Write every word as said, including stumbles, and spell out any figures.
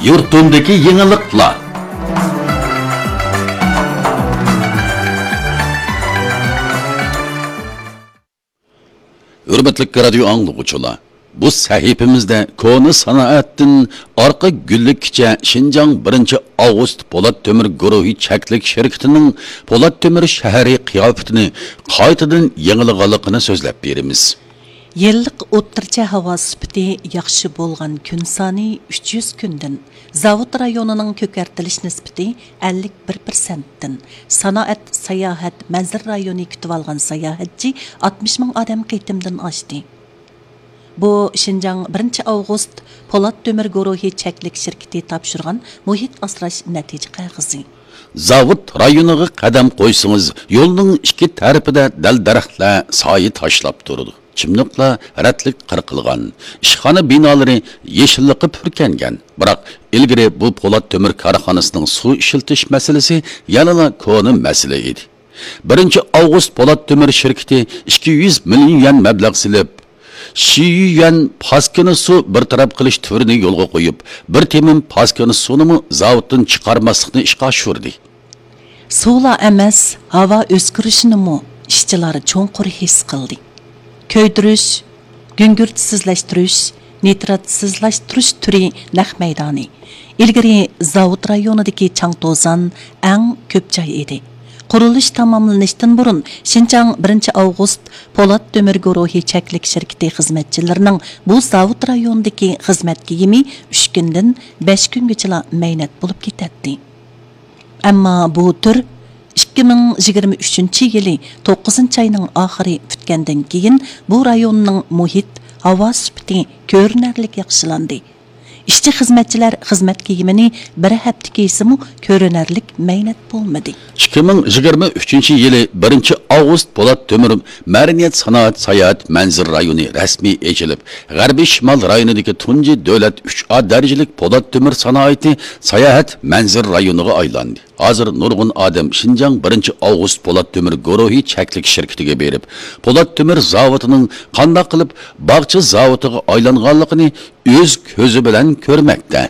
يۇرتۇمدىكى يېڭىلىقلار. ھۆرمەتلىك رادىيو ئاڭلىغۇچىلار، بۇ سەھىپىمىزدە كونا سانائەتتىن ئارقا گۈللۈككىچە شىنجاڭ بىرىنچى ئاۋغۇست پولات تۆمۈر گۇرۇھى چەكلىك شىركىتىنىڭ پولات تۆمۈر شەھىرى قىياپىتىنى قايتىدىن يېڭىلىغانلىقىنى سۆزلەپ بېرىمىز. يىللىق ئوتتۇرىچە ھاۋا سۈپىتى ياخشى بولغان كۈن سانى ئۈچ يۈز كۈندىن، زاۋۇت رايونىنىڭ كۆكەرتىلىش نىسبىتى ئەللىك بىر پىرسەنتتىن، سانائەت، ساياھەت، مەنزىرە رايونى كۈتۈۋالغان ساياھەتچى ئاتمىش مىڭ ئادەم قېتىمدىن ئاشتى. بۇ شىنجاڭ بىرىنچى ئاۋغۇست پولات تۆمۈر گۇرۇھى چەكلىك شىركىتى تاپشۇرغان مۇھىت ئاسراش نەتىجە قەغىزى. زاۋۇت رايونىغا قەدەم قويسىڭىز، يولنىڭ ئىككى تەرىپىدە دەل-دەرەخلەر سايە تاشلاپ تۇرىدۇ. چىملىقلار رەتلىك قىرقىلغان، ئىشخانا بىنالىرى يېشىللىققا پۈركەنگەن. بىراق، ئىلگىرى بۇ پولات تۆمۈر كارخانىسىنىڭ سۇ ئىشلىتىش مەسىلىسى يەنىلا كونا مەسىلە ئىدى. بىرىنچى ئاۋغۇست پولات تۆمۈر شىركىتى ئىككى يۈز مىليون يۈەن مەبلەغ سېلىپ، شىيۈەن پاسكىنا سۇ بىر تەرەپ قىلىش تۈرىنى يولغا قويۇپ، بىر تېمىم پاسكىنا سۇنىمۇ زاۋۇتتىن چىقارماسلىقنى ئىشقا ئاشۇردى. سۇلا ئەمەس، ھاۋا ئۆزگىرىشىنىمۇ ئىشچىلار چوڭقۇر ھېس قىلدى. كۆيدۈرۈش، گۈڭگۈرتسىزلەشتۈرۈش، نىتراتسىزلاشتۇرۇش تۈرى نەق مەيدانى. ئىلگىرى زاۋۇت رايونىدىكى چاڭ-توزان ئەڭ كۆپ جاي ئىدى. قۇرۇلۇش تاماملىنىشتىن بۇرۇن شىنجاڭ بىرىنچى ئاۋغۇست پولات تۆمۈر گۇرۇھى چەكلىك شىركىتى خىزمەتچىلىرىنىڭ بۇ زاۋۇت رايونىدىكى خىزمەت كىيىمى ئۈچ كۈندىن بەش كۈنگىچىلا مەينەت بولۇپ كېتەتتى. ئەمما بۇ تۈر ئىككى مىڭ يىگىرمە ئۈچىنچى يىلى توققۇزىنچى ئاينىڭ ئاخىرى پۈتكەندىن كېيىن، بۇ رايوننىڭ مۇھىت، ھاۋا سۈپىتى كۆرۈنەرلىك ياخشىلاندى. ئىشچى خىزمەتچىلەر خىزمەت كىيىمىنى بىر ھەپتە كىيسىمۇ، كۆرۈنەرلىك مەينەت بولمىدى. ئىككى مىڭ يىگىرمە ئۈچىنچى يىلى بىرىنچى ئاۋغۇست پولات تۆمۈر مەدەنىيەت، سانائەت، ساياھەت، مەنزىرە رايونى رەسمىي ئېچىلىپ، غەربىي شىمال رايونىدىكى تۇنجى دۆلەت ئۈچ ئا دەرىجىلىك پولات تۆمۈر سانائىتى ساياھەت، مەنزىرە رايونىغا ئايلاندى. ھازىر نۇرغۇن ئادەم شىنجاڭ بىرىنچى ئاۋغۇست پولات تۆمۈر گۇرۇھى چەكلىك شىركىتىگە بېرىپ، پولات تۆمۈر زاۋۇتىنىڭ قانداق قىلىپ باغچە زاۋۇتىغا ئايلانغانلىقىنى ئۆز كۆزى بىلەن كۆرمەكتە.